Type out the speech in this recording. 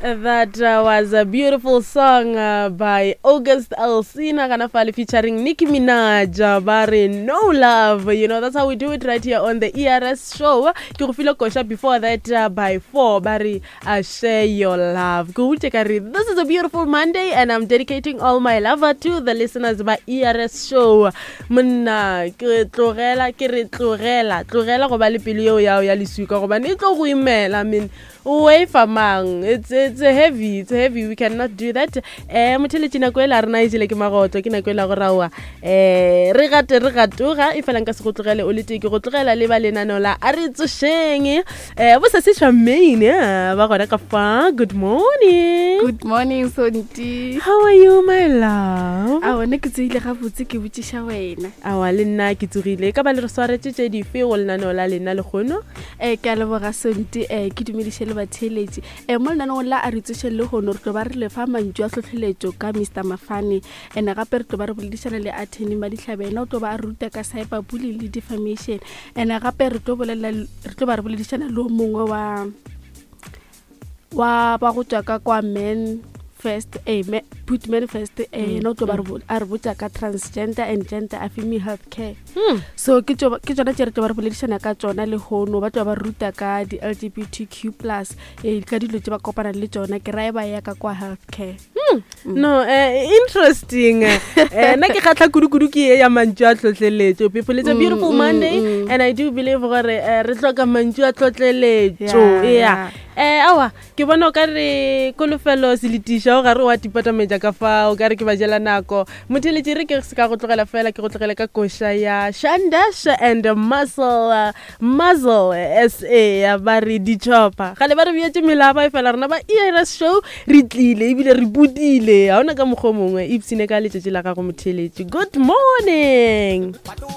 That was a beautiful song by August Alsina gana fale featuring Nicki Minaj ba re No Love. You know, that's how we do it right here on the ERS show. Ke go file koša before that by 4 ba re share your love. Ke go ka re this is a beautiful Monday and I'm dedicating all my love to the listeners ba ERS show. Monna ke tlogela ke re tlogela tlogela go ba le pelo yeo yao ya leswika gobane e tlo go imela. I mean, o efa mang? It's heavy, it's heavy, we cannot do that. Motheletši, nako e la rena e jele ke magotlo, ke nako e la go raoa re gate re gatoga e fela nka se go tlogele o le tee, ke go tlogela le ba lenaneo la a re tsošeng bo se se Charmaine ba gona ka fa. Good morning. Good morning, Sonti. How are you, my love? A one ke tsogile gabotse, ke botšiša wena. Awa, le nna ke tsogile. Ka ba le re swaretše tše dife go lenaneo la lena lekgono? Ke a leboga, Sonti. Ke dumediše le batheeletši. Mo lenaneong la a re tsošeng lehono re tlo ba re lefa mantšu a tlhotlheletšo ka Mr Mafane, ene gape re tlo ba re boledišana le attorney Madihlabe, ena o tlo ba a ruta ka cyber bullying le defamation, ene gape re tlo bolela re tlo ba re boledišana le o mongwe wa ba go tswa ka kwa Men First, put Men First, ena o tlo ba a re botša ka transgender and gender affirming health care. So ke tsona tše re tlo ba re boledišana ka tsona lehono. Ba tlo ba ruta ka di-LGBTQ plus, ka dilo tše ba kopanang le tsona, ke rae ba ya ka kwa health care. No, interesting. Nna ke kgatlha kudu-kudu ke ye ya mantšu a tlhotlheletšo. People, it's a beautiful Monday and I do believe gore re hloka mantšu a tlhotlheletšo. Yeah. Awa, ke bona o ka re kolofelo seletiša o gare wa tipatametša ka fa o ka re ke ba jela nako. Motheletši, re ke se ka go tlogela fela, ke go tlogele ka koša ya Shandash and Muscle Muzzle SA ya ba re ditšhopa. Gale ba re beetše melaba e fela rena ba ERS show re tlile ebile re bodile, ga ona ka mokgwa o mongwe. Ipsene ka letšatši la gago, motheletši. Good morning.